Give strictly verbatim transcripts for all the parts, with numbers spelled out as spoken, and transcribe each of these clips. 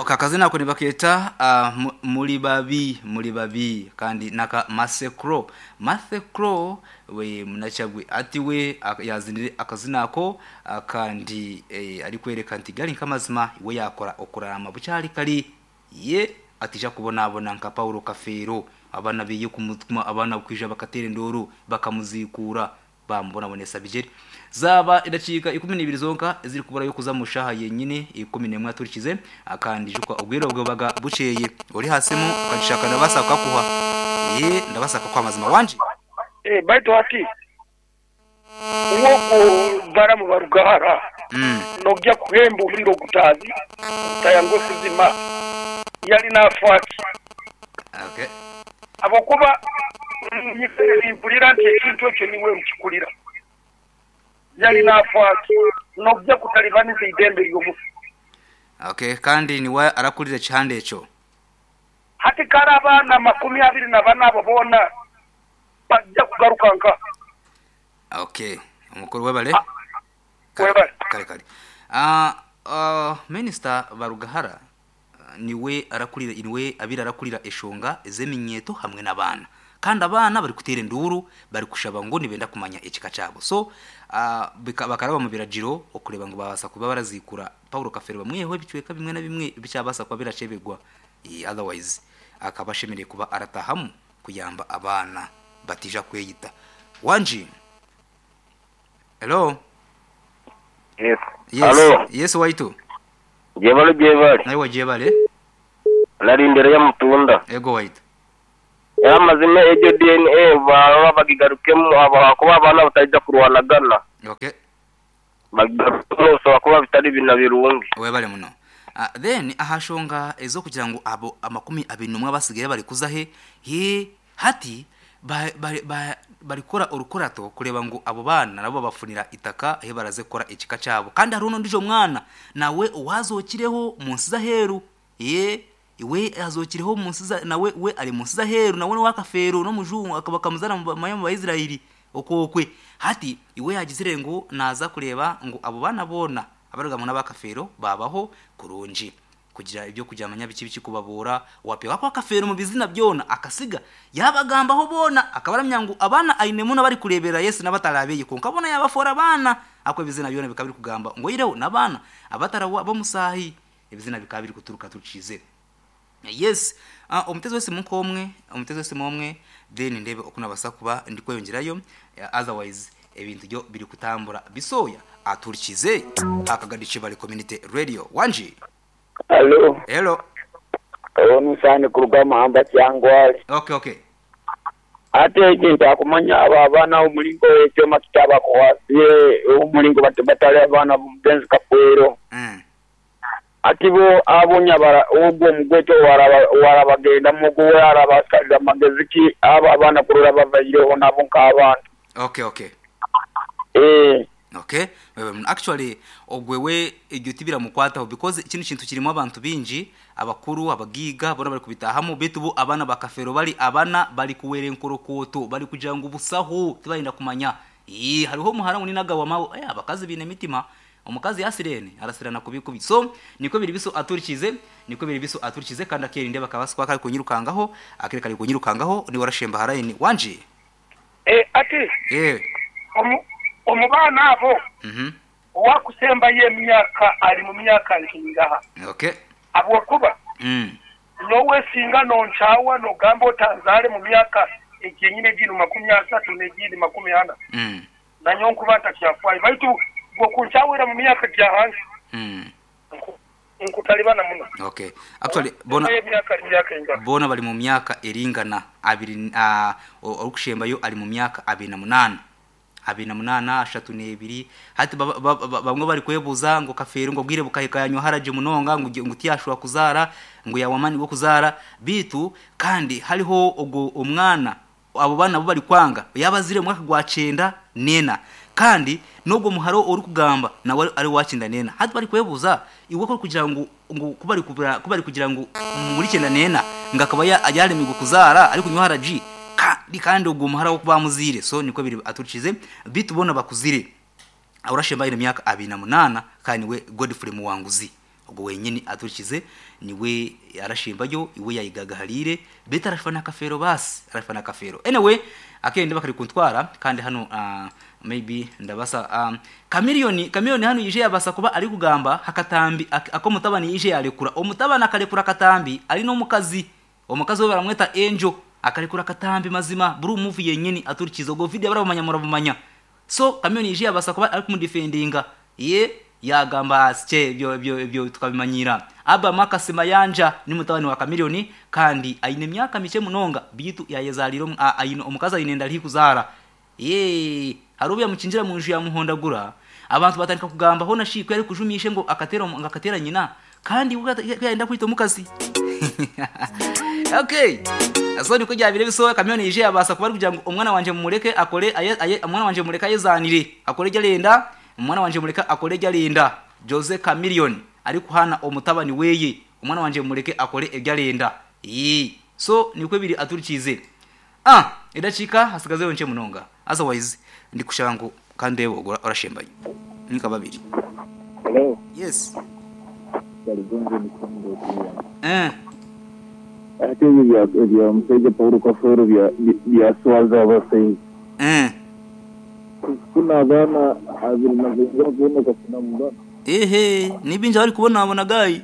Akazina ako nibakeeta uh, mu- muri babi, muri babi, kandi naka Masekro Masekro we munachagwe ati we ak- yazinire akazina ako, ah, kandi eh, ari kwereka nti gali nkamazima we yakora okurama bukyali kali ye atija kubonabona nka Paulo Kafeero, abana biye kumutuma, abana kwija bakatera enduru bakamuzikura bamubonabonesa bijeri. Zaba idakiika ikumi n'ibiri zonka eziri kubura yo kuza mushaha yenyine ikumi n'emwe aturikize akandi jukwa ubwiro bwe baga bukeye uri hasimu ukagishaka ndabasa kukuha ye ndabasa kwa mazima wanje. Eh, baitu hati uwo baramu barugahara mm. nojya kuhemba omuliro gutazi gutayangwe kuzima yali nafaaki. Okay. Abokuba mpulira nti ekintu ekyo niwe nkikulira yali nafaaki nojja kutalibaniza eidembe ly'omufu. Okay, kandi niwe arakurira ekihanda ekyo. Hati kari abaana makumi abiri na bana abo boona bajja kugaruka nka. Okay, omukuru webale. Ah, Kale, webale. Kale kale. Ah, uh, Minister Barugahara ah, niwe arakurira, niwe abira arakurira eshonga ezeminyeto hamwe n'abaana, kandi abaana bari kutera enduru bari kushaba ngo nibenda kumanya ekika cyabo. So uh, bakaraba mu biragiro okureba ngo babasa kuba barazikura Paulo Kafeero bamweho ebicweka bimwe na bimwe bicyabasa kuba biracebegwa. Eh, otherwise akaba ashemereye kuba aratahamu kuyamba abaana batija kweyita. Wanji, hello. Yes. Yes. Alo, yes, waitu. jebale jebale. Nawe wajebale. Nari imbere ya mutunda. Ego waitu. Era amazima egyo D N A baba bagigarukemu aba kuba abaana batajja kurwanagana. Okay. Bagigarukemu ushobora kuba bitari bina birungi. Webale muno. Uh, then ahashonga ezokugira ngo abo amakumi abiri n'umwe abasigaye bari kuza he he hati ba- ba- ba- barikora urukorato kureba ngo abo bana nabo bafunira itaka he baraze kora ekika cyabo, kandi hari uno ndijo mwana nawe uwazokireho munsi zaheru ye iwe azokireho munsi za nawe we ari munsi zaheru nawe ni wakafero no mujungu akaba kamuzana mu ba- mu Bayisiraheli okokwe. Hati iwe yagizire ngo naza kureba ngo abo bana bona abaruga mu n'abakafero babaho kurungi kugira ibyo kujyamanya biki biki kubabura wapewa kwa kafero mu bizina byona akasiga yabagambaho bona akabaramya ngo abana ainemu bari kurebera Yesu n'abatarabeye konka bona yabafora abana ako ibizina byona bikaba biri kugamba ngo yireho n'abana abatarawa bamusahi ibizina bikaba biri kuturuka tucize. Yes, uh, omutezi wese mukomwe, omutezi wese momwe, then ndebe okunabasa kuba ndi kweyongerayo. uh, otherwise ebintu byo biri kutambura bisoya aturikize akagadiche bali community radio. Wanji. Alo, Hello. ono sani kuruga mahamba kyangwale. Okay okay. Ate ekintu akumanya abo abaana omulingo ekyoma kitabakwasiye omulingo bat- batali abaana b'omugenzi Kafeero. mm. Ati bo abonya bara ogwo omugweto waraba warabagenda muguwe arabasalira amagezi ki abo abaana kurora bavaireho nabo nk'abantu. okay okay Eh, okay. Wewe, actually ogwewe iryo tibiramukwataho because kino kintu kirimo abantu bingi, abakuru, abagiga bona bari kubitahamu bitu bo abana bakafero bari abana bari kuwera enkorokoto bari kugira ngo ubusaho tibarinda kumanya. Ii hariho muhara uninaga wa mawo eh, abakazi bine mitima omukazi yasirene arasirana kubikubi. So niko biri biso aturikize, niko biri biso aturikize, kandi akerinde bakabaswa kari kunyirukangaho akere kari kunyirukangaho ni warashemba harayini. Wanje. Eh, ati Eh. omu omu baana abo Mhm. owakusembayo emyaka ali mu myaka nkingaha? Okay. Habwokuba mm nowesinga nonkyawa nogamba otanzaale mu myaka egyenyine gino makumi asatu negindi makumi ana mm nanyo nkuba ntakyafaayo baitu gwokunkyawera mu myaka gya hansi mm nku- nkutalibana muno. Okay, actually bona emyaka ali myaka engana? Bona bali mu myaka eringana abiri, uh, orikushembayo ali mu myaka abiri na munana, abiri na munana, ashatu n'ebiri. Hati ba- ba- ba- bamwe bari kwebuza ngo Kafeero ngo bwire bukahikayanywa haraje munonga ngo ngo tiyashobora kuzara ngo yawamani wo kuzara bitu, kandi hariho ogwo omwana abo bana bo bari kwanga yabazire mu mwaka gwa cenda nena, kandi nubwo muharo uri kugamba nawe ari wakinda nena. Hati bari kwebuza iwe ko kugira ngo ngo kubari kubara kubari kugira ngo muri cyenda nena ngo akaba yaremirwa kuzara ariko kunywa haraji kandi kandi ubwo muhara wo kubamuzire. So niko biri aturikize bitubona bakuzire urashemba ine myaka abiri na munana, kandi we Godfrey Muwanguzi. Ogwo wenyini aturikize niwe arashimbayo iwe yayigagaharire beta arashfa kafero, basi arashfa kafero. Anyway, akende bakari kuntwara kandi hano uh, maybe ndabasa um, Chameleone. Chameleone hano yije yabasa kuba ari kugamba hakatambi ak- ako mutabani yije yarekura, omutabani akarekura akatambi ari no mukazi, omukazi we baramweta Angel, akarekura akatambi. Mazima buri movie yenyini aturikiza ubwo video barabumanya, murabumanya. So Chameleone yije yabasa kuba ari kumudefendinga, ye yagamba asye ibyo ibyo ibyo tukabimanyira. Aba Makasi Mayanja ni mutabani wa Chameleone kandi aine myaka mike munonga, bitu yayezaliro aine omukazi aine ndali kuzara ye harubu yamukinjira mu nju yamuhondagura. Abantu batandika kugamba ho nashiko yari kujumishe ngo akatera ngo akatera nyina kandi ubwo yenda kwita omukazi. Okay, so niko byabire bisohoka. Chameleone yije yabasa kuba ari kugira ngo umwana wanje mumureke akore aye, aye, umwana wanje mureke ayezanire akore jarenda, umwana wanje mureke akore jarenda. Jose Chameleone ari kuhana omutabani weye, umwana wanje mureke akore ebyarenda. Yi so niko biri aturikize. Ah, idacika hasigazeyo nce munonga, otherwise ndi kushaka ngo kandi yewe orashembaye nika babiri. Hello, Yes. Karigongo ni Kongo pia. Eh. Ate ebyo bya bya musajja Paulo Kafeero bya byaswaza abasaiza. Eh. Kuna abaana abiri na benzira kubona kafuna mugana. Ehe, nibinja bari kubona abona gayi.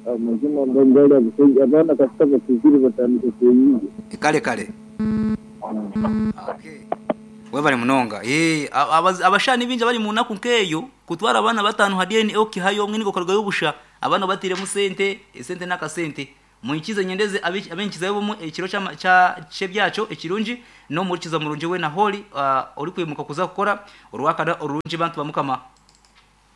Amazima ngangali abasaiza abaana kasita bakuzire batandika kweyiga. Kale kale. Okay, webale munonga. Eh, abaz- abashani binja bari mu naku nkeyo kutwara abana batanu ha D N A okihayo omwe niko karuga yobusha abana batiremu sente esente n'akasente muikize nyendeze abenkiza bomu ekiro cha cha chebyacho ekirungi no murikiza murungi we na holi uh, ori kwimuka kuza gukora urwakana orurungi bantu bamukama.